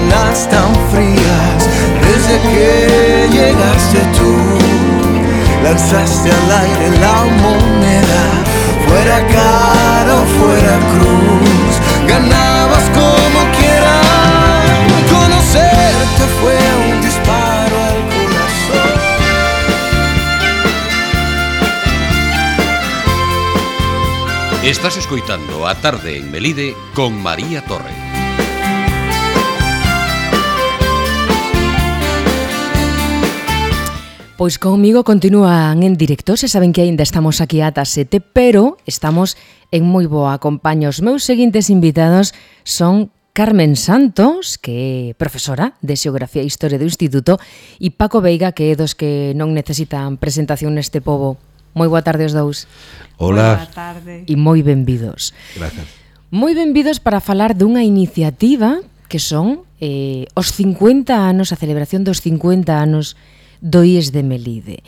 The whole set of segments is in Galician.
mañanas tan frías, desde que llegaste tú, lanzaste al aire la moneda, fuera cara o fuera cruz, ganabas como quieras. Conocerte fue un disparo al corazón. Estás escoitando A Tarde en Melide con María Torre. Pois comigo continúan en directo, se saben que aínda estamos aquí ata 7, pero estamos en moi boa compañía. Os meus seguintes invitados son Carmen Santos, que é profesora de Xeografía e Historia do Instituto, e Paco Veiga, que é dos que non necesitan presentación neste pobo. Moi boa tarde os dous. Hola. Boa tarde. E moi benvidos. Gracias. Moi benvidos para falar dunha iniciativa que son os 50 anos, a celebración dos 50 anos do IES de Melide.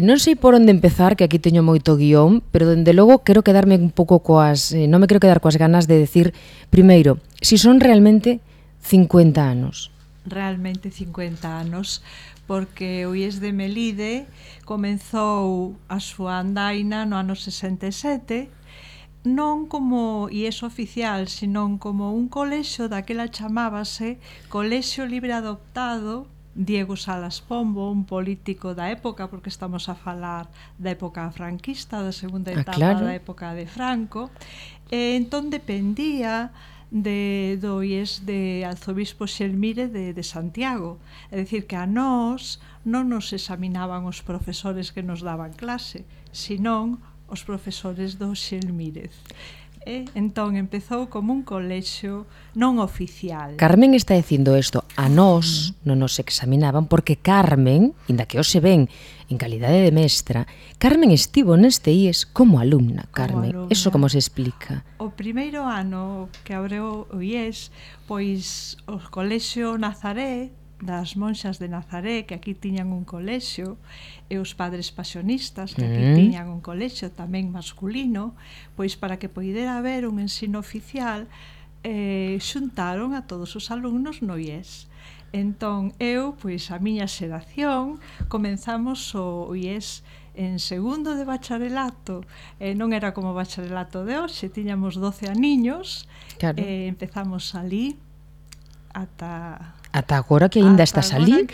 Non sei por onde empezar, que aquí teño moito guión, pero dende logo quero quedarme un pouco coas... non me quero quedar coas ganas de decir, primeiro, si son realmente 50 anos. Realmente 50 anos, porque o IES de Melide comezou a súa andaina no ano 67, non como IES oficial, senón como un colexio, daquela chamábase Colexio Libre Adoptado Diego Salas Pombo, un político da época, porque estamos a falar da época franquista, da segunda etapa claro. da época de Franco, e entón dependía do IES de Arzobispo Xelmire de Santiago. É dicir, que a nós non nos examinaban os profesores que nos daban clase, senón os profesores do Xelmírez. Entón empezou como un colexio non oficial. Carmen está dicindo isto, a nós non nos examinaban porque Carmen, inda que hoxe ven en calidade de mestra, Carmen estivo neste IES como alumna, Carmen. Eso como se explica? O primeiro ano que abreu o IES, pois o colexio Nazaré, das monxas de Nazaré, que aquí tiñan un colexio, e os padres pasionistas, que aquí tiñan un colexio tamén masculino, pois para que poidera haber un ensino oficial, xuntaron a todos os alumnos no IES. Entón, eu, pois a miña xeración, comenzamos o IES en segundo de bacharelato, non era como o bacharelato de hoxe, tiñamos 12 aniños, claro. Empezamos ali ata agora que aínda estás ali,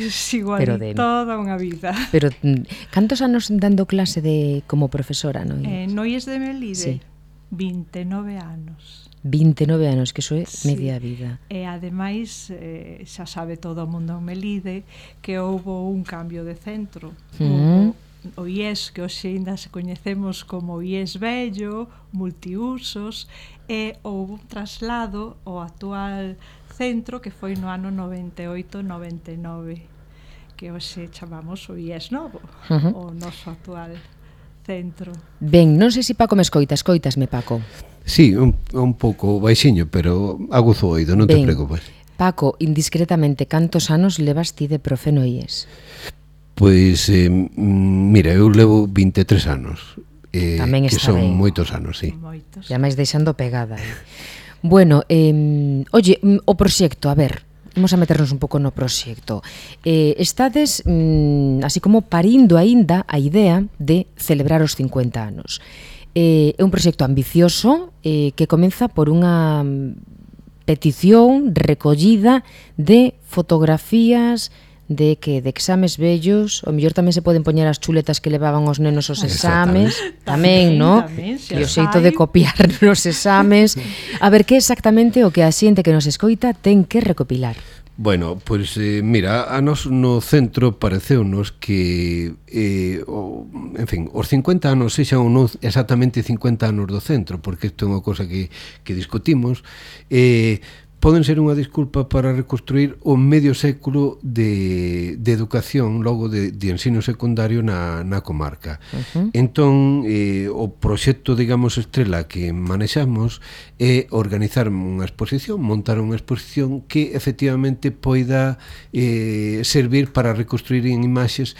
pero de toda unha vida. Pero cantos anos dando clase de como profesora no IES? No IES de Melide, sí. 29 anos. 29 anos, que iso é media vida. E ademais, xa sabe todo o mundo en Melide que houbo un cambio de centro. O IES, que hoxe ainda se coñecemos como IES vello, multiusos, e houbo un traslado ao actual centro que foi no ano 98-99, que hoxe chamamos o IES novo, o noso actual centro. Ben, non sei se Paco me escoitasme, Paco. Sí, un pouco baixiño, pero aguzo o oído, non te preocupes. Paco, indiscretamente, cantos anos levas ti de profe no IES? Pois, mira, eu levo 23 anos, tamén que está son ben. Moitos anos, sí. Moitos. E máis deixando pegada. Bueno, oye, o proxecto, a ver, vamos a meternos un pouco no proxecto. Estades, así como parindo aínda a idea de celebrar os 50 anos. É un proxecto ambicioso que comeza por unha petición recollida de fotografías de exames vellos, o mellor tamén se poden poñer as chuletas que levaban os nenos aos exames, tamén, non? E o xeito de copiar nos exames. A ver, que exactamente o que a xente que nos escoita ten que recopilar? Bueno, pois, mira, a nos no centro pareceunos que, en fin, os 50 anos sexan ou non exactamente 50 anos do centro, porque isto é unha cosa que discutimos, poden ser unha disculpa para reconstruir o medio século de educación logo de ensino secundario na comarca. Entón, o proxecto, digamos, estrela que manexamos é organizar unha exposición, montar unha exposición que efectivamente poida servir para reconstruir en imaxes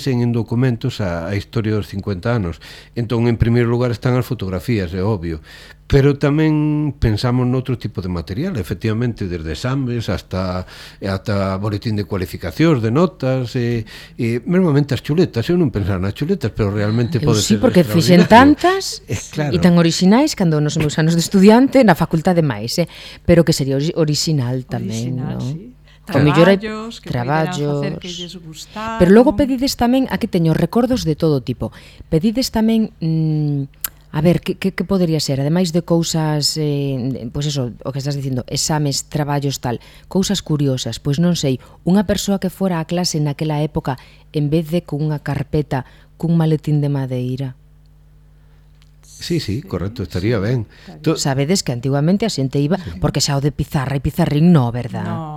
e en documentos a historia dos 50 anos. Entón, en primeiro lugar están as fotografías, é obvio, pero tamén pensamos noutro tipo de material, efectivamente, desde exames hasta boletín de cualificacións, de notas, e mesmamente as chuletas. Eu non pensaba nas chuletas, pero realmente pode ser porque fixen tantas claro. E tan orixinais cando nos meus anos de estudiante na facultade máis, pero que sería orixinal tamén, Original, non? sí. O mellor hai Traballos que traballos, poderan facer que lles gustaron. pero logo pedides tamén, aquí teño recordos de todo tipo, pedides tamén a ver, que podería ser? Ademais de cousas, pois eso, o que estás dicindo, exames, traballos, tal, cousas curiosas, pois non sei, unha persoa que fora a clase naquela época, en vez de cunha carpeta, cun maletín de madeira. Sí, correcto, estaría ben. Sabedes que antiguamente a xente iba, porque xa o de pizarra e pizarrín no, verdad? No.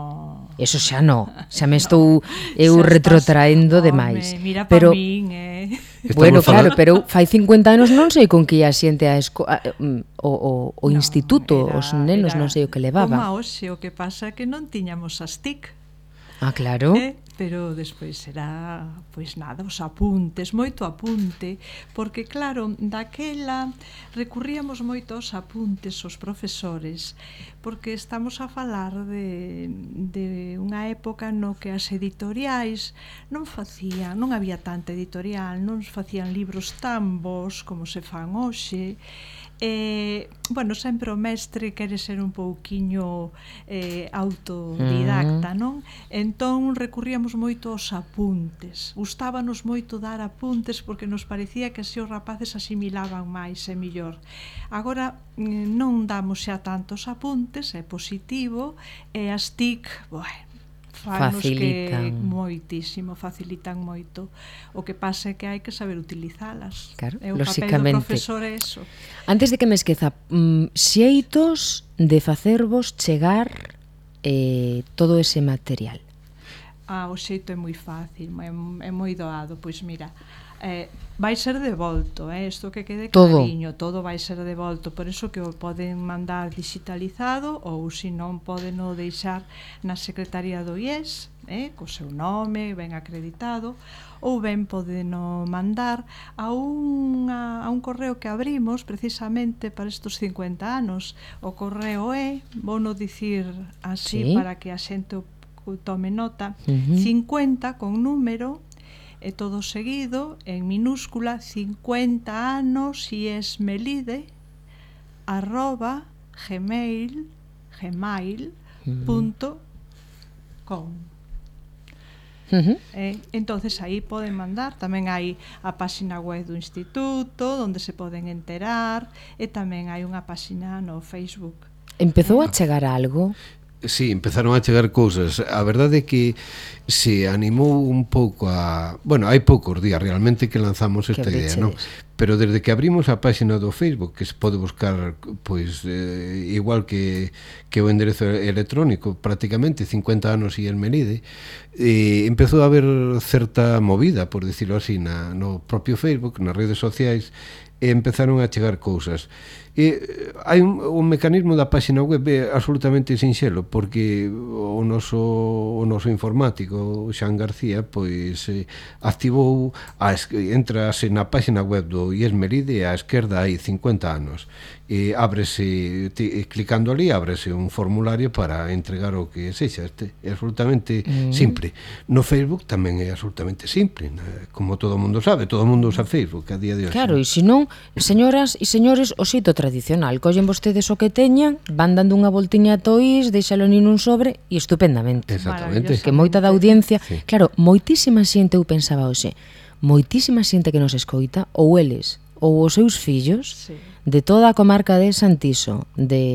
Eso xa xa me estou eu retrotraendo demais. Mira pero min, bueno, claro, pero fai 50 anos non sei con que ia xente o instituto, os nenos non sei o que levaban. Como hoxe, o que pasa é que non tiñamos as TIC. Ah, claro. Pero despois será, pois nada, os apuntes, moito apunte, porque claro, daquela recurríamos moito aos apuntes os profesores, porque estamos a falar de unha época no que as editoriais non había tanta editorial, non facían libros tan bons como se fan hoxe. Bueno, sempre o mestre quere ser un pouquiño autodidacta, non? Entón recurríamos moito aos apuntes. Gustábanos moito dar apuntes porque nos parecía que así os rapaces asimilaban máis e mellor. Agora non damos xa tantos apuntes, é positivo, e as TIC, bueno, facilitan moitísimo, facilitan moito. O que pasa é que hai que saber utilizalas. Claro, o papel do profesor é eso. Antes de que me esqueza, xeitos de facervos chegar todo ese material. O xeito é moi fácil, é moi doado. Pois mira, vai ser devolto, isto que quede clariño, todo vai ser devolto, por iso que o poden mandar digitalizado ou se non poden o deixar na Secretaría do IES, co seu nome ben acreditado, ou ben poden o mandar a un correo que abrimos precisamente para estes 50 anos. O correo vou non dicir así para que a xente tome nota, 50 con número, e todo seguido, en minúscula, 50 anos iesmelide @gmail.com. Entonces aí poden mandar, tamén hai a páxina web do instituto onde se poden enterar, e tamén hai unha páxina no Facebook. Empezou a chegar algo? Sí, empezaron a chegar cousas. A verdade é que se animou un pouco bueno, hai poucos días realmente que lanzamos esta idea, non? Pero desde que abrimos a páxina do Facebook, que se pode buscar pois igual que o enderezo electrónico, prácticamente 50 anos e el Melide, empezou a haber certa movida, por dicirlo así, no propio Facebook, nas redes sociais, e empezaron a chegar cousas. Hai un mecanismo da páxina web absolutamente sinxelo, porque o noso informático, Xan García, pois activou, entrase na páxina web do IES Melide, á esquerda hai 50 anos, e ábrese, clicando ali, ábrese un formulario para entregar o que sexa. É absolutamente simple. No Facebook tamén é absolutamente simple, como todo o mundo sabe, todo o mundo usa Facebook a día de hoxe. Claro, e senón, señoras e señores, o xeito tradicional, collen vostedes o que teñan, van dando unha voltiña a toís, deixalo nin un sobre e estupendamente. Exactamente. Que moita da audiencia, claro, moitísima xente, eu pensaba hoxe, moitísima xente que nos escoita, ou eles, ou os seus fillos, de toda a comarca de Santiso,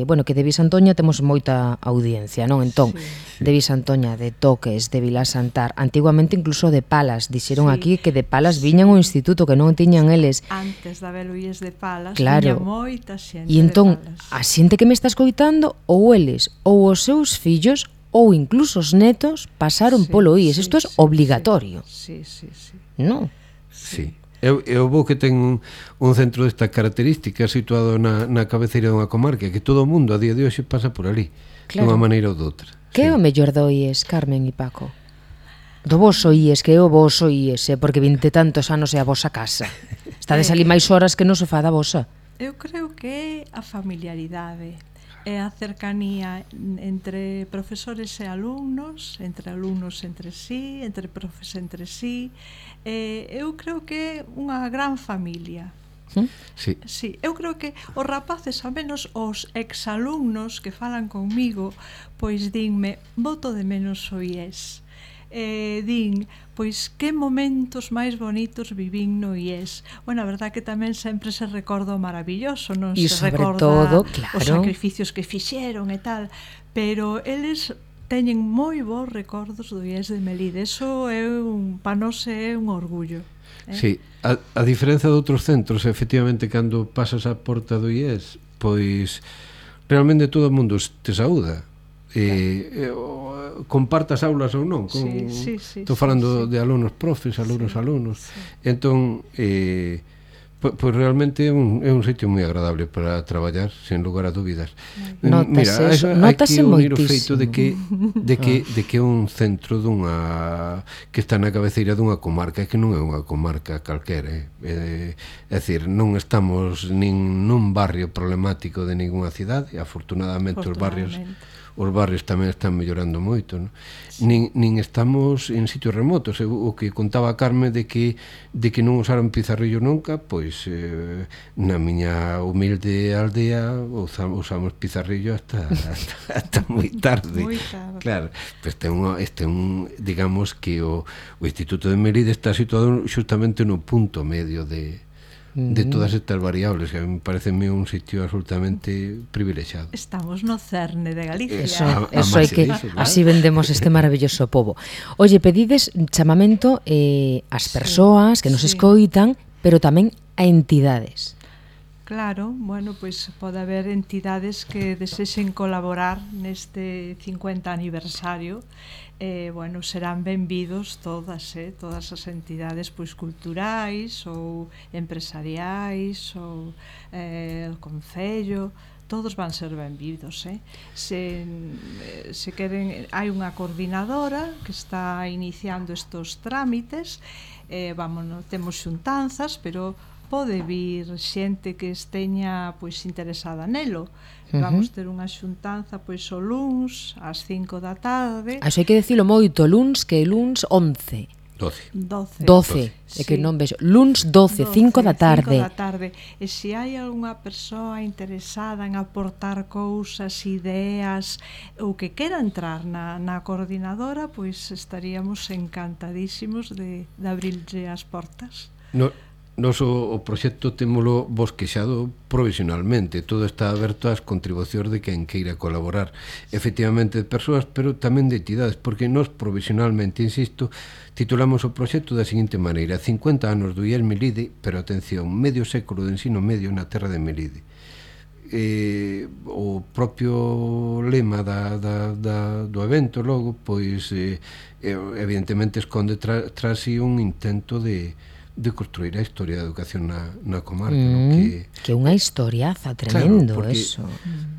bueno, que de Visantoña temos moita audiencia, non? Entón, de Visantoña, de Toques, de Vilasantar, antiguamente incluso de Palas, dixeron aquí que de Palas viñan ao instituto, que non tiñan eles. Antes de haber Luís de Palas, claro, tiña moita xente e entón, de Palas. a xente que me está escoitando, ou eles, ou os seus fillos, ou incluso os netos, pasaron polo IES. Isto é obligatorio. Sí. Non? Sí. Eu vou que ten un centro destas características situado na cabeceira dunha comarca, que todo o mundo a día de hoxe pasa por ali, dunha maneira ou doutra. Que é o mellor do IES, Carmen e Paco? Do voso IES, que é o voso IES, porque 20 tantos anos é a vosa casa. Estades ali máis horas que no sofá da vosa. Eu creo que é a familiaridade, é a cercanía entre profesores e alumnos entre sí, entre profes entre sí. Eu creo que é unha gran familia. Sí. Sí, eu creo que os rapaces, ao menos os exalumnos que falan conmigo, pois dinme, boto de menos o IES. Din, pois que momentos máis bonitos vivín no IES. Bueno, a verdad que tamén sempre se recorda o maravilloso, non E se sobre recorda todo, claro, os sacrificios que fixeron e tal, pero eles teñen moi bons recordos do IES de Melide. Eso é para nós é un orgullo. Sí, a diferenza de outros centros, efectivamente, cando pasas a porta do IES, pois realmente todo o mundo te saúda. Compartas aulas ou non, estou falando de alumnos profes, alumnos. Entón, pois realmente é un sitio moi agradable para traballar, sen lugar a dúbidas. Mira, hai que unir o feito de que é un centro que está na cabeceira dunha comarca, que non é unha comarca calquera, é dicir, non estamos nin nun barrio problemático de ninguna cidade, afortunadamente os barrios tamén están mellorando moito, non? Sí. Nin estamos en sitios remotos. O que contaba a Carme de que non usaron pizarrillo nunca, pois na miña humilde aldea usamos pizarrillo hasta moi tarde. Claro, pois digamos que o Instituto de Melide está situado justamente no punto medio de todas estas variables, que me parece un sitio absolutamente privilexiado. Estamos no cerne de Galicia. Eso hai que, así vendemos este maravilloso pobo. Oye, pedides chamamento ás persoas que nos escoitan, pero tamén a entidades. Claro, bueno, pois pode haber entidades que desexen colaborar neste 50 aniversario. Bueno, serán benvidos todas as entidades pois culturais ou empresariais ou o Concello, todos van ser benvidos. Se queren, hai unha coordinadora que está iniciando estos trámites, temos xuntanzas, pero pode vir xente que esteña pois interesada nelo. Vamos ter unha xuntanza pois o luns ás 5 da tarde. Iso hai que dicilo moito, luns, que luns 11. 12. É que non vexo. Luns 12, 5 da tarde. 5 da tarde. E se hai algunha persoa interesada en aportar cousas, ideas, ou que quera entrar na coordinadora, pois estaríamos encantadísimos de abrirlle as portas. Nos o proxecto témolo bosquexado provisionalmente, todo está aberto ás contribucións de quen queira colaborar, efectivamente de persoas, pero tamén de entidades, porque nos provisionalmente, insisto, titulamos o proxecto da seguinte maneira: 50 anos do IES Melide, pero atención, medio século de ensino medio na terra de Melide. O propio lema do evento logo, pois evidentemente esconde tras si un intento de construir a historia da educación na comarca, que é unha historiaza tremendo, claro, porque, eso.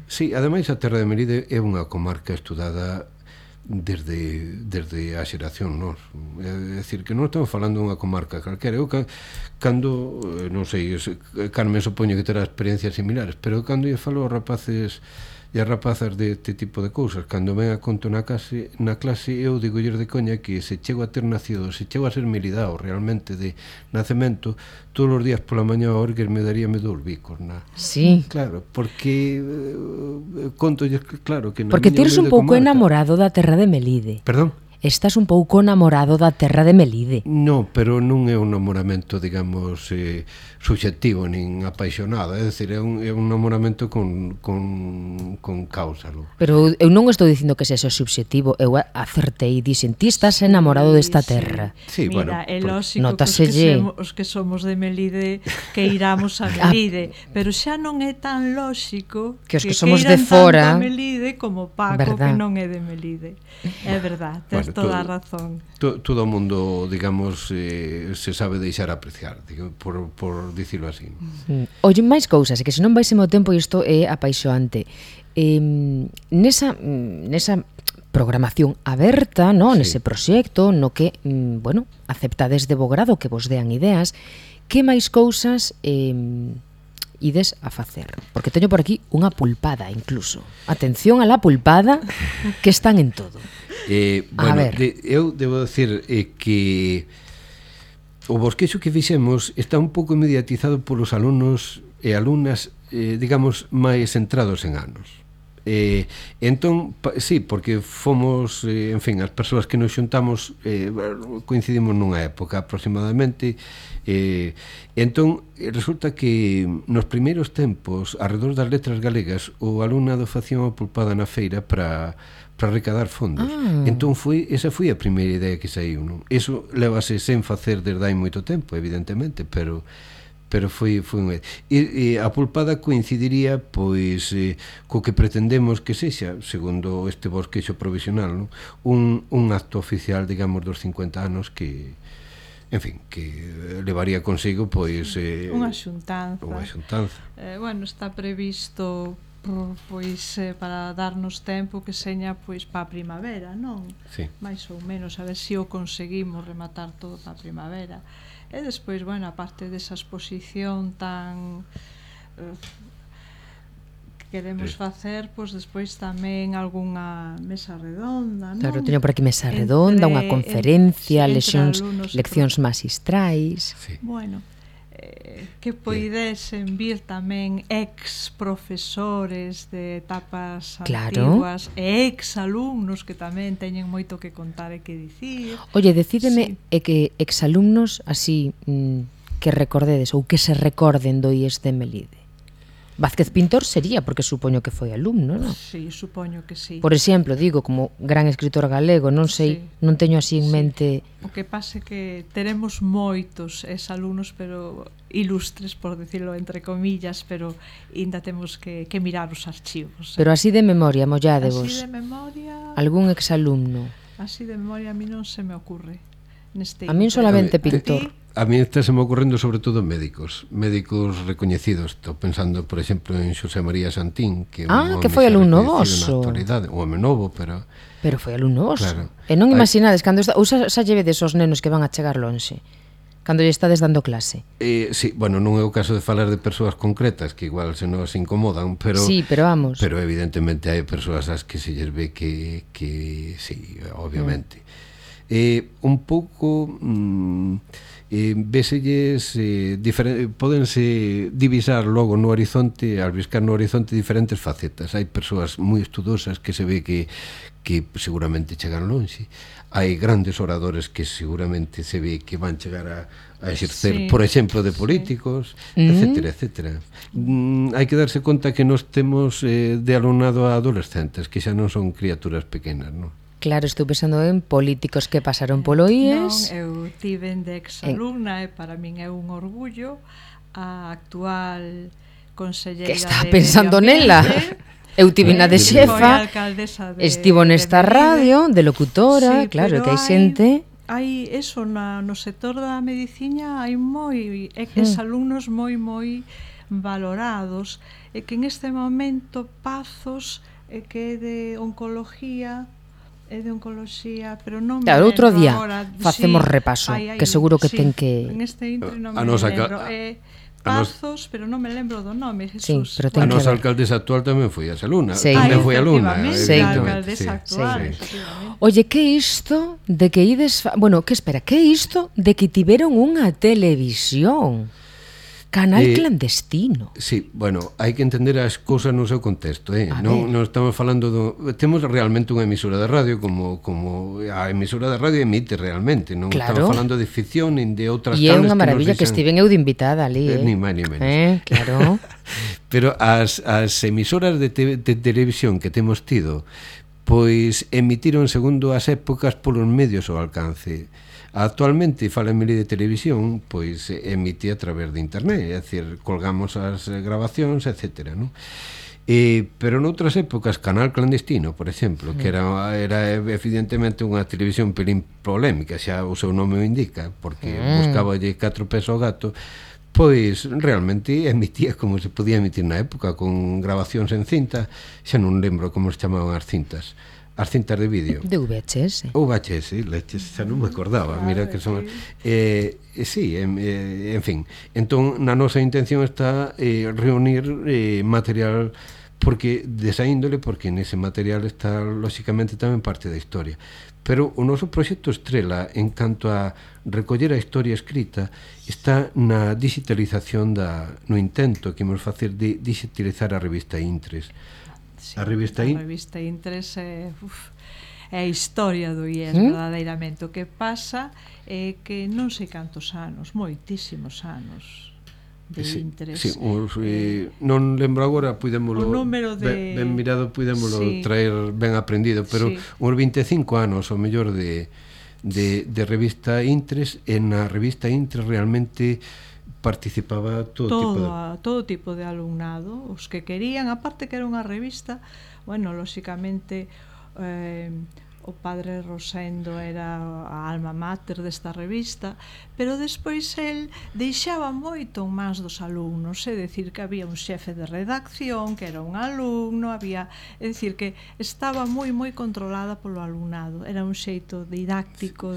Sí, ademais a terra de Melide é unha comarca estudada desde a xeración nos. É dicir, que non estamos falando de unha comarca calquera. Eu cando, non sei, Carmen supoño que terá experiencias similares, pero cando eu falo aos rapaces e as rapazas deste tipo de cousas, cando ven a conto na clase, eu digolles de coña que se chego a ter nacido, se chego a ser milidao realmente de nacemento, todos os días pola mañá a orgues me daríame 2 bicos. Sí. Claro, porque contolles claro que porque tires un pouco enamorado da terra de Melide. Perdón? Estás un pouco namorado da terra de Melide. No, pero non é un namoramento, digamos, subxectivo, nin apaixonado, é dicir, é un namoramento con causa, non? Pero eu non estou dicindo que sexa subxectivo, eu acertei, dixen, ti estás enamorado desta terra. Sí, mira, é lóxico que os que somos de Melide que iramos a Melide, pero xa non é tan lóxico que os que somos de fora a Melide como Paco, que non é de Melide. É verdad, tens toda a razón. Todo o mundo, digamos, se sabe deixar apreciar, por dicilo así. Oye, máis cousas, que se non vais o tempo, isto é apaixoante. Nesa programación aberta, no, sí, nese proxecto, no que, bueno, aceptades de bo grado que vos dean ideas, que máis cousas ides a facer? Porque teño por aquí unha pulpada incluso. Atención a la pulpada, que están en todo. Bueno, eu debo decir que o bosquexo que fixemos está un pouco mediatizado polos alumnos e alumnas, digamos, máis centrados en anos. Entón, sí, porque fomos, en fin, as persoas que nos xuntamos coincidimos nunha época aproximadamente. Entón, resulta que nos primeiros tempos, arredor das letras galegas, o alumnado facía unha pulpada na feira para recadar fondos. Entón esa foi a primeira idea que saiu, non? Eso levase sen facer desde hai moito tempo, evidentemente, pero foi unha... E a pulpada coincidiría pois co que pretendemos que sexa, segundo este bosquexo provisional, non? Un acto oficial, digamos, dos 50 anos que, en fin, que levaría consigo pois unha xuntanza. Bueno, está previsto pois para darnos tempo que seña pois para a primavera, non? Sí. Mais ou menos, a ver se o conseguimos rematar todo para a primavera. E despois, bueno, aparte desa exposición tan que queremos facer, pois despois tamén algunha mesa redonda, non? Claro, teño por aquí mesa redonda, unha conferencia, leccións magistrais. Sí. Bueno, que poidesen vir tamén ex profesores de etapas antiguas e ex alumnos que tamén teñen moito que contar e que dicir. Oye, decídeme que ex alumnos así que recordedes ou que se recorden do IES de Melide. Vázquez Pintor sería, porque supoño que foi alumno, non? Sí, supoño que sí. Por exemplo, digo, como gran escritor galego, non sei, non teño así en mente... O que pase que teremos moitos alumnos, pero ilustres, por decirlo entre comillas, pero ainda temos que mirar os archivos. Pero así de memoria, molládevos. Así de memoria... Algún exalumno. Así de memoria a mí non se me ocurre. A min solamente Pintor. A mí está se me ocorrendo sobre todo médicos recoñecidos. Estou pensando, por exemplo, en Xosé María Santín, que que foi alumno voso. Un home novo, pero foi alumno voso. Claro. E non imaginades cando ou xa llevedes os nenos que van a chegar lonxe cando lle estades dando clase. Sí, bueno, non é o caso de falar de persoas concretas que igual se nos incomodan, pero sí, pero vamos. Pero evidentemente hai persoas ás que se lles ve que sí, obviamente. Un pouco véselles pódense divisar logo no horizonte, albiscar no horizonte diferentes facetas. Hai persoas moi estudosas que se ve que seguramente chegan lonxe. Hai grandes oradores que seguramente se ve que van chegar a exercer, por exemplo, de políticos, etcétera, etcétera. Hai que darse conta que nos temos de alumnado a adolescentes, que xa non son criaturas pequenas, non? Claro, estou pensando en políticos que pasaron polo IES. Non, eu tiven de ex-alumna e para min é un orgullo a actual conselleira que está pensando nela. Eu tive na de xefa, estivo nesta radio, de locutora, claro, que hai xente... Hai eso, no sector da medicina hai ex-alumnos moi valorados, e que en este momento Pazos, que é de oncología, pero non me lembro. Outro día agora, facemos repaso, que seguro que ten que... En este intro non me lembro. Pazos, pero non me lembro do nome, Jesús. Sí, pero a nosa alcaldesa actual tamén foi alumna. Tamén foi alumna. A alcaldesa actual. Oye, que isto de que ides... Bueno, que espera, que isto de que tiveron unha televisión? Canal clandestino. Sí, bueno, hai que entender as cousas no seu contexto, non estamos falando temos realmente unha emisora de radio como a emisora de radio emite realmente, non estamos falando de ficción nin de outras cables. E é unha maravilla que estiven eu de invitada ali, Ni máis ni menos. Claro. Pero as emisoras de televisión que temos tido, pois emitiron segundo as épocas polos medios ao alcance. Actualmente, fala en Melide Televisión, pois emite a través de internet, é dicir, colgamos as grabacións, etcétera, non? Pero noutras épocas, Canal Clandestino, por exemplo, que era evidentemente unha televisión pelín polémica, xa o seu nome o indica, porque buscaballe 4 pés ao gato, pois realmente emitía como se podía emitir na época, con grabacións en cinta, xa non lembro como se chamaban as cintas. as cintas de vídeo. De VHS. Ou VHS, leches, xa non me acordaba. Mira que son... sí, en fin. Entón, na nosa intención está reunir material porque desa índole, porque nese material está, lóxicamente, tamén parte da historia. Pero o noso proxecto estrela, en canto a recoller a historia escrita, está na digitalización no intento que imos facer de digitalizar a revista Intres. Sí, A revista Intres é a historia do IES, verdadeiramente. O que pasa é que non sei cantos anos, moitísimos anos de Intres. Sí, non lembro agora, puidémolo o número de... ben mirado, puidémolo sí. traer ben aprendido, pero sí. uns 25 anos, o mellor, de revista Intres, e na revista Intres realmente participaba todo tipo de alumnado, os que querían, aparte que era unha revista, bueno, lóxicamente o padre Rosendo era a alma mater desta revista, pero despois el deixaba moito máis dos alumnos, é dicir que había un xefe de redacción que era un alumno, é dicir que estaba moi controlada polo alumnado, era un xeito didáctico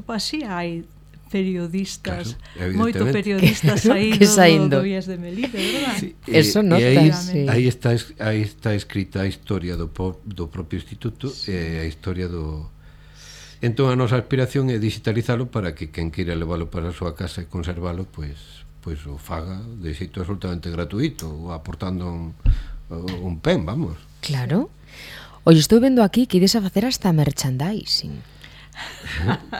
así hai periodistas, claro, moito periodistas saindo do IES de Melide, verdad? Sí, eso nota. Aí está escrita a historia do propio instituto e a historia do... Entón a nosa aspiración é digitalizalo para que quen queira leválo para a súa casa e conservalo, pois o faga de xeito absolutamente gratuito, ou aportando un pen, vamos. Claro. Oye, estou vendo aquí que ides a facer hasta merchandising.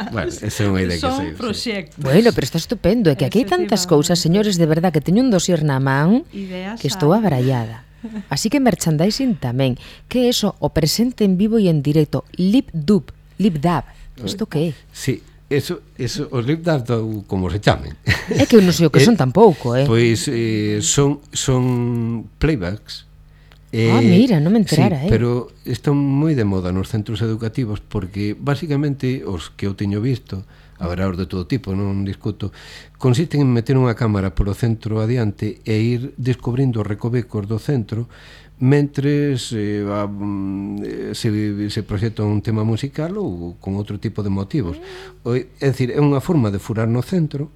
Bueno, esa é unha idea que sei. Son proxectos. Bueno, pero está estupendo, é que aquí hai tantas cousas, señores, de verdad, que teño un dosier na man que estou abrallada. Así que merchandising tamén. Que é eso? O presente en vivo e en directo. Lip-dub. Isto que é? Sí, eso os lip-dub, como se chamen. É que eu non sei o que son tampouco, Pois son playbacks. Mira, non me enterara, sí, pero están moi de moda nos centros educativos porque basicamente os que eu teño visto, haberá os de todo tipo, non discuto, consisten en meter unha cámara polo centro adiante e ir descubrindo os recovecos do centro mentres se proxecta un tema musical ou con outro tipo de motivos. É dicir, é unha forma de furar no centro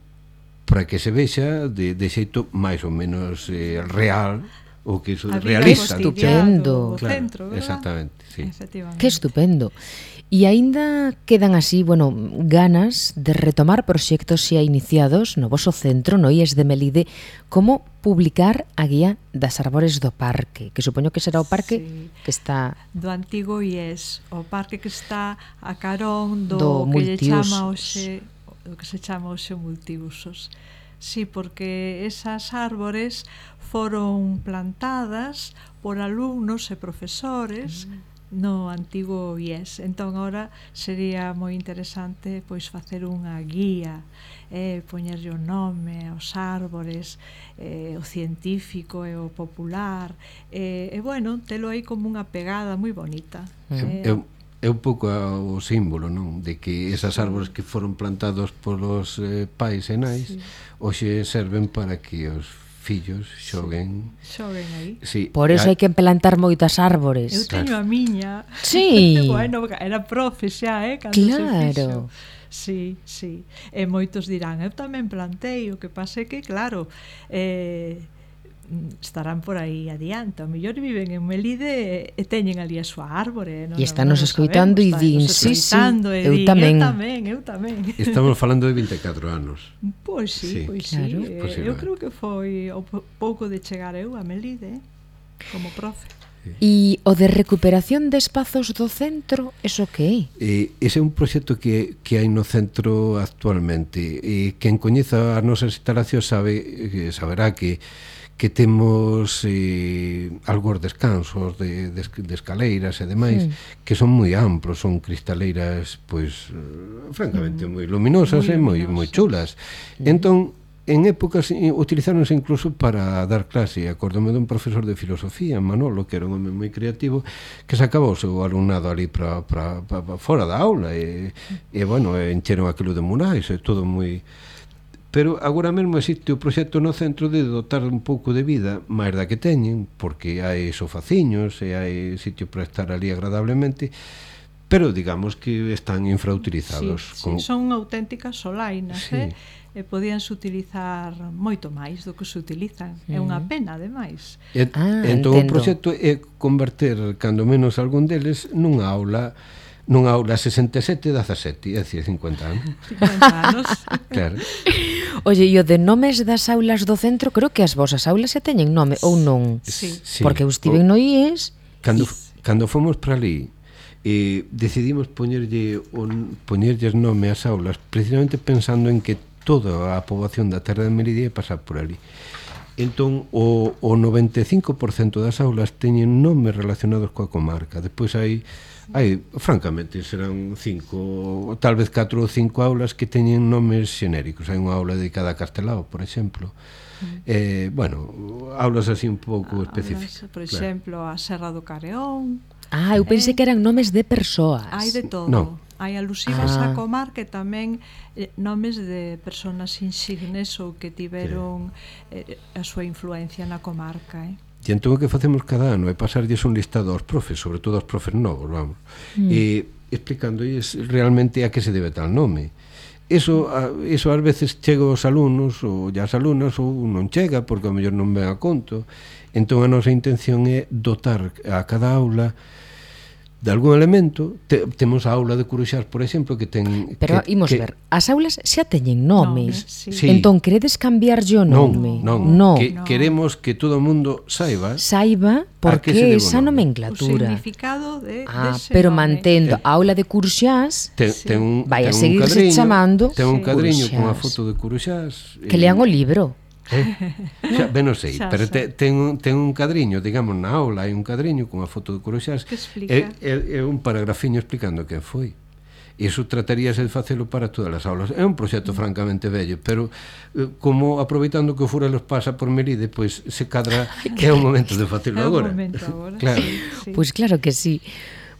para que se vexa de xeito máis ou menos real o que iso realiza. Que estupendo. Claro, centro, exactamente, sí. Que estupendo. E aínda quedan así, bueno, ganas de retomar proxectos xa iniciados no voso centro, no IES de Melide, como publicar a guía das árbores do parque, que supoño que será o parque que está... Do antigo IES, o parque que está a carón do que se chama hoxe multiusos. Sí, porque esas árbores foron plantadas por alumnos e profesores no antigo IES. Entón, agora sería moi interesante pois facer unha guía, poñerlle o nome aos árbores, o científico e o popular, e bueno, telo aí como unha pegada moi bonita. É un pouco o símbolo, non? De que esas árbores que foron plantados polos pais e nais hoxe serven para que os fillos xoguen aí. Sí. Por eso hai que plantar moitas árbores. Eu teño a miña. Sí. Bueno, era profe xa, cando claro. se fixo. Sí. E moitos dirán, eu tamén plantei, o que pasa é que, claro, estarán por aí adiante, ao mellor viven en Melide e teñen ali a súa árbore, e están nos escoitando e din, sí, eu tamén. Estamos falando de 24 anos. Pois sí, claro. Eu creo que foi o pouco de chegar eu a Melide como profe. E o de recuperación de espazos do centro, eso que é? Ese é un proxecto que hai no centro actualmente, e quen coñeza as nosas instalacións saberá que temos algos descansos de escaleiras e demais que son moi amplos, son cristaleiras pois francamente moi luminosas e moi chulas. Entón, en épocas utilizáronse incluso para dar clase. Acordome dun profesor de filosofía, Manolo, que era un home moi creativo, que sacaba o seu alumnado ali para fora da aula e bueno, encheron aquilo de murais e todo moi... pero agora mesmo existe o proxecto no centro de dotar un pouco de vida máis da que teñen, porque hai sofaciños e hai sitio para estar ali agradablemente, pero digamos que están infrautilizados. Sí, son auténticas solainas, sí. E podíanse utilizar moito máis do que se utilizan. É unha pena, ademais. Entón o proxecto é converter, cando menos algún deles, nunha aula 67-17, é dicir, 50 anos. 50 anos. Claro. Oye, e o de nomes das aulas do centro, creo que as vosas aulas xa teñen nome, ou non? Sí. Porque eu estiven no IES. Cando fomos para ali, decidimos poñerlles nome ás aulas, precisamente pensando en que toda a poboación da terra de Melide ia pasar por ali. Entón, o 95% das aulas teñen nomes relacionados coa comarca. Depois hai francamente, serán 5, tal vez 4 ou 5 aulas que teñen nomes xenéricos. Hai unha aula dedicada a Castelao, por exemplo. Bueno, aulas así un pouco específicas. Por exemplo, a Serra do Careón. Eu pensei que eran nomes de persoas. Hai de todo. No. Hai alusivas á comarca e tamén nomes de persoas insignes ou que tiveron a súa influencia na comarca. E entón o que facemos cada ano é pasarlles un listado aos profes, sobre todo aos profes novos, vamos, e explicándoles realmente a que se debe tal nome. Eso ás veces chega aos alumnos ou as alumnas ou non chega porque ao mellor non ven a conto. Entón a nosa intención é dotar a cada aula de algún elemento. Temos a aula de Curuxás, por exemplo, que ten... Pero imos ver, as aulas xa teñen nome. Sí. Entón, queredes cambiarlle o nome? Non. Queremos que todo o mundo saiba por que esa nomenclatura. O significado dese pero nome. mantendo a aula de Curuxás, vai a seguirse chamando ten un cadriño con a Curuxás. foto de Curuxás. Que lean o libro. Xa, ben non sei, pero ten un cadriño, digamos, na aula hai un cadriño con a foto de Curuxás que explica. É un paragrafiño explicando quen foi. Iso trataríase de facelo para todas as aulas. É un proxecto francamente vello, pero como aproveitando que o Furelos pasa por Melide, pois se cadra é o momento de facelo agora. Claro. Sí. Pois claro que sí.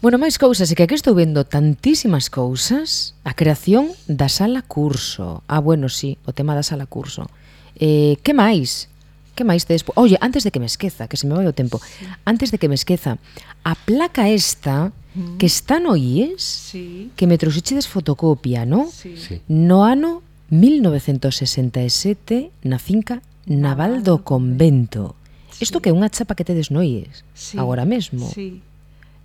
Bueno, máis cousas, é que aquí estou vendo tantísimas cousas. A creación da sala curso. Bueno, sí, o tema da sala curso. Que máis? Que máis tedes? Oye, antes de que me esqueza, que se me vai o tempo, antes de que me esqueza, a placa esta que está no IES, que me trouxeches fotocopia, no? Sí. No ano 1967 na finca Naval do Convento. Isto que é unha chapa que tedes no IES, agora mesmo. Sí,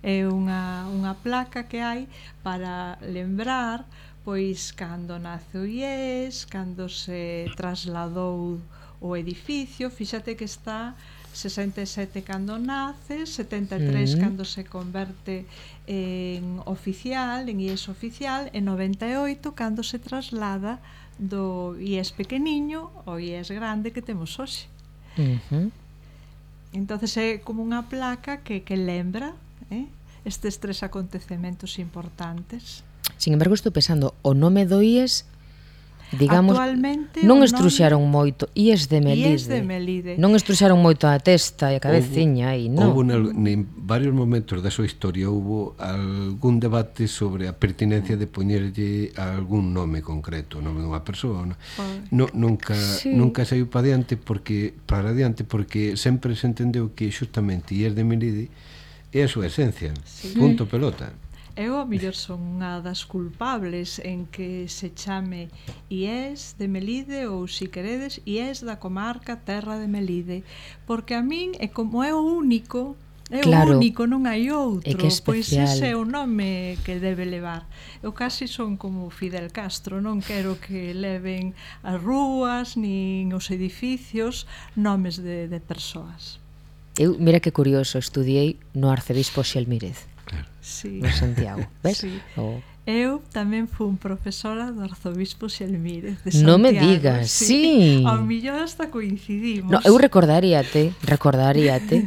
é unha placa que hai para lembrar pois cando nace o IES, cando se trasladou o edificio. Fíxate que está 67 cando nace, 73 cando se converte en oficial, en IES oficial, e 98 cando se traslada do IES pequeniño ao IES grande que temos hoxe. Entonces é como unha placa que lembra estes 3 acontecementos importantes. Sin embargo, estou pensando, o nome do IES, digamos, actualmente non estruxaron moito. IES de Melide. Non estruxaron moito a testa e a cabeciña aí, non? Houve en varios momentos da súa historia houve algún debate sobre a pertinencia de poñerlle algún nome concreto, o nome dunha persoa. Nunca saiu para adiante porque sempre se entendeu que xustamente IES de Melide é a súa esencia. Punto pelota. Eu a mellor son unha das culpables en que se chame IES de Melide ou, se queredes, IES da comarca Terra de Melide, porque a min é como é o único, o único, non hai outro, pois ese é o nome que debe levar. Eu casi son como Fidel Castro, non quero que leven as rúas nin os edificios nomes de persoas. Eu, mira que curioso, estudiei no Arcebispo Xelmírez. Sí. No Santiago, ves? Sí. Eu tamén fui profesora do Arzobispo Xelmírez de Santiago. Non me digas, sí. Ao millón hasta coincidimos. No, eu recordaríate,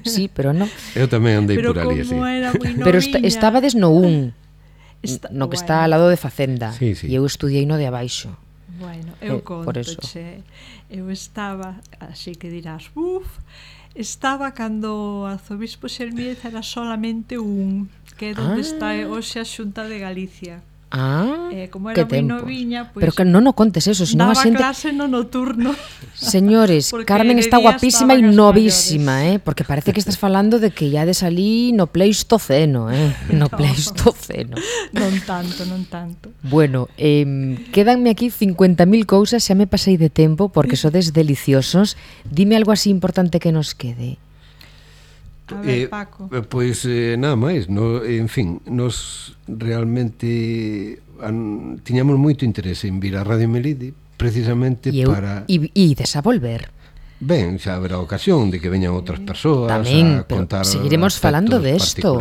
sí, pero non. Eu tamén andei por ali, así. Pero estabades no un, no que está ao lado de Facenda, e eu estudiei no de abaixo. Bueno, eu contoche. Eu estaba, así que dirás, estaba cando o Arzobispo Xelmírez era solamente un, que é onde está hoxe a Xunta de Galicia. Como que era moi tempos. noviña, pois Pero que non o contes eso, senón a daba xente... clase no nocturno. Señores, Porque Carmen de está día guapísima e estaban as novísima, maiores. porque parece que estás falando de que ya de salí no Pleistoceno, no Pleistoceno. Non tanto, non tanto. Bueno, quédanme aquí 50.000 cousas, xa me pasei de tempo porque sodes deliciosos. Dime algo así importante que nos quede. A ver, Paco. Pois nada máis, en fin, nos realmente tiñamos moito interese en vir a Radio Melide precisamente para... E ides a volver. Ben, xa haberá ocasión de que veñan outras persoas Tamén, a pero contar seguiremos falando de isto.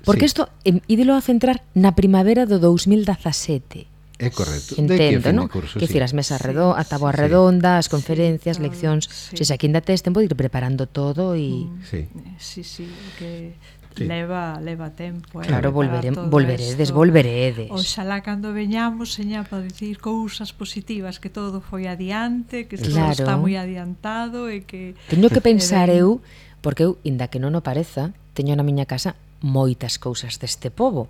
Porque isto, ídelo a centrar na primavera do 2017. É correcto. Entendo, non? Que decir, as mesas a táboa redonda, as conferencias, leccións, se xa que ainda tes tempo de ir preparando todo e... Sí, que leva tempo. Claro, volveredes. Oxalá cando veñamos, seña, para dicir cousas positivas, que todo foi adiante, que todo claro. está moi adiantado e que... Teño que pensar eu, porque eu, inda que non o pareza, teño na miña casa moitas cousas deste pobo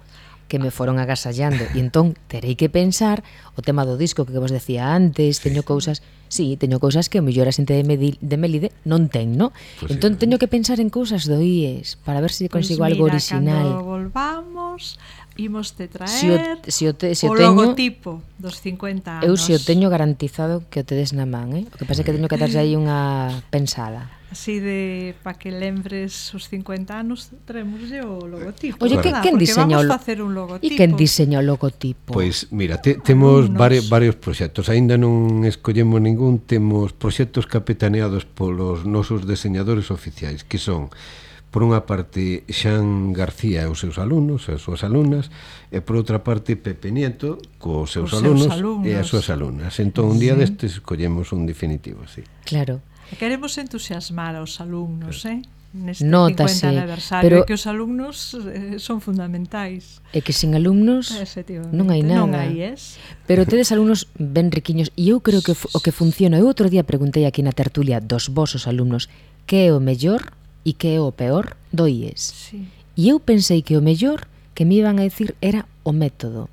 que me foron agasallando e entón terei que pensar o tema do disco que vos decía antes, teño cousas que o mellor a xente de Melide non ten, non? Entón teño que pensar en cousas do IES para ver se consigo algo original. Cando volvamos imos te traer o logotipo dos 50 anos. Eu se o teño garantizado que o tedes na man, O que pasa é que teño que darlle aí unha pensada. Así de para que lembres os 50 anos, traemoslle o logotipo. Oye, quen diseñou o logotipo? Pois mira, temos varios proxectos. Aínda non escollemos ningún. Temos proxectos capitaneados polos nosos deseñadores oficiais, que son, por unha parte, Xan García e os seus alumnos, as súas alumnas, e por outra parte, Pepe Nieto, cos seus alumnos e as súas alumnas. Entón, un día destes escollemos un definitivo, sí. Claro. Queremos entusiasmar aos alumnos, neste Notase, 50 aniversario, que os alumnos son fundamentais. E que sen alumnos non hai nada. Non hai, Pero tedes alumnos ben riquiños e eu creo que o que funciona. Eu outro día preguntei aquí na tertulia dos vosos alumnos que é o mellor e que é o peor do IES. Sí. E eu pensei que o mellor que me iban a decir era o método.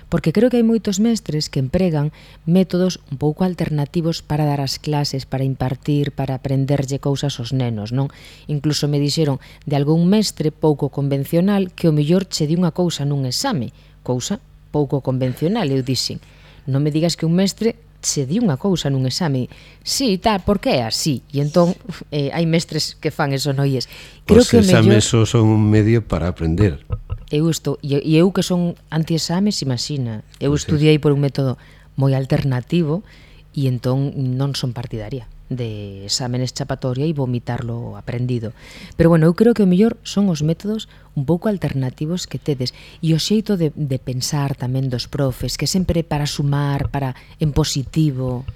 Porque creo que hai moitos mestres que empregan métodos un pouco alternativos para dar as clases, para impartir, para aprenderlle cousas aos nenos, non? Incluso me dixeron de algún mestre pouco convencional que o mellor che di unha cousa nun exame, cousa pouco convencional. Eu dixen, non me digas que un mestre che di unha cousa nun exame. Sí, tal, porque é así. E entón hai mestres que fan eso no IES. Os exames son un medio para aprender. E eu que son anti-exames, imagina, eu estudiei por un método moi alternativo e entón non son partidaria de exámenes chapatoria e vomitarlo aprendido. Pero bueno, eu creo que o mellor son os métodos un pouco alternativos que tedes e o xeito de pensar tamén dos profes, que sempre para sumar, para en positivo.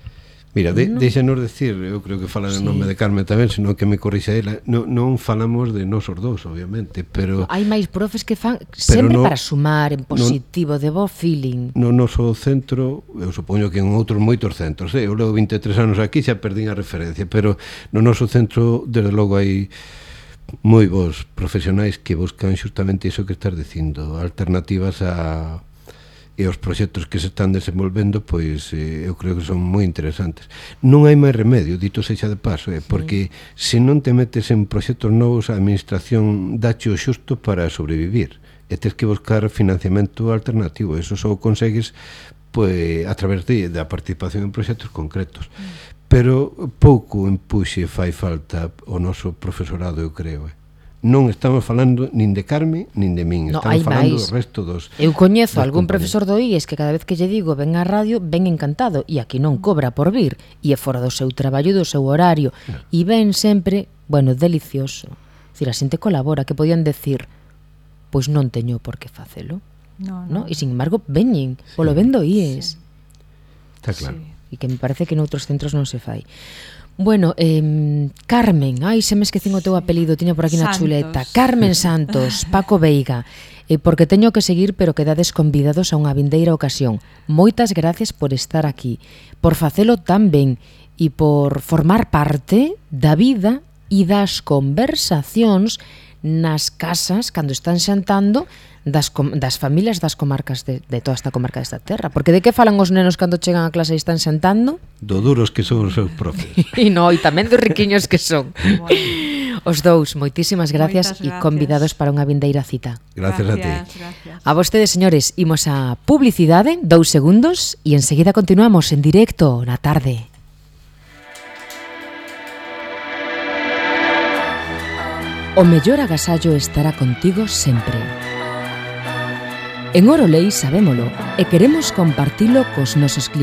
Mira, deixanos decir, eu creo que fala en nome de Carmen tamén, senón que me corrixa ela, non falamos de nosos dous, obviamente, pero... Hai máis profes que fan sempre para sumar, en positivo, de bo feeling. No noso centro, eu supoño que en outros moitos centros, eu levo 23 anos aquí, xa perdín a referencia, pero no noso centro, desde logo, hai moi bons profesionais que buscan xustamente iso que estás dicindo, alternativas a... e os proxectos que se están desenvolvendo, pois eu creo que son moi interesantes. Non hai máis remedio, dito sexa de paso, porque se non te metes en proxectos novos, a administración dache o xusto para sobrevivir, e tens que buscar financiamento alternativo. Eso só consegues pois a través da participación en proxectos concretos. Pero pouco empuxe fai falta o noso profesorado, eu creo. Non estamos falando nin de Carmen nin de min, estamos falando do resto dos... Eu coñezo algún profesor do IES que cada vez que lle digo ven á radio, ven encantado, e aquí non cobra por vir, e é fora do seu traballo e do seu horario, e ven sempre, bueno, delicioso. Dicir, a xente colabora, que podían decir, pois non teño por que facelo. No? E sin embargo, veñen, polo ben do IES. Está claro. E que me parece que noutros centros non se fai. Bueno, Carmen, se me esquecín o teu apelido, tiña por aquí na chuleta. Carmen Santos, Paco Veiga, porque teño que seguir, pero quedades convidados a unha vindeira ocasión. Moitas gracias por estar aquí, por facelo tan ben e por formar parte da vida e das conversacións nas casas cando están xantando das familias das comarcas de toda esta comarca desta terra. Porque de que falan os nenos cando chegan a clase e están xantando? Do duros que son os seus profes. E tamén dos riquiños que son. Os dous, moitísimas gracias e convidados para unha vindeira cita. Gracias a ti. A vostedes, señores, imos a publicidade, 2 segundos, e enseguida continuamos en directo na tarde. O mellor agasallo estará contigo sempre. En Orolei sabémolo e queremos compartilo cos nosos clientes.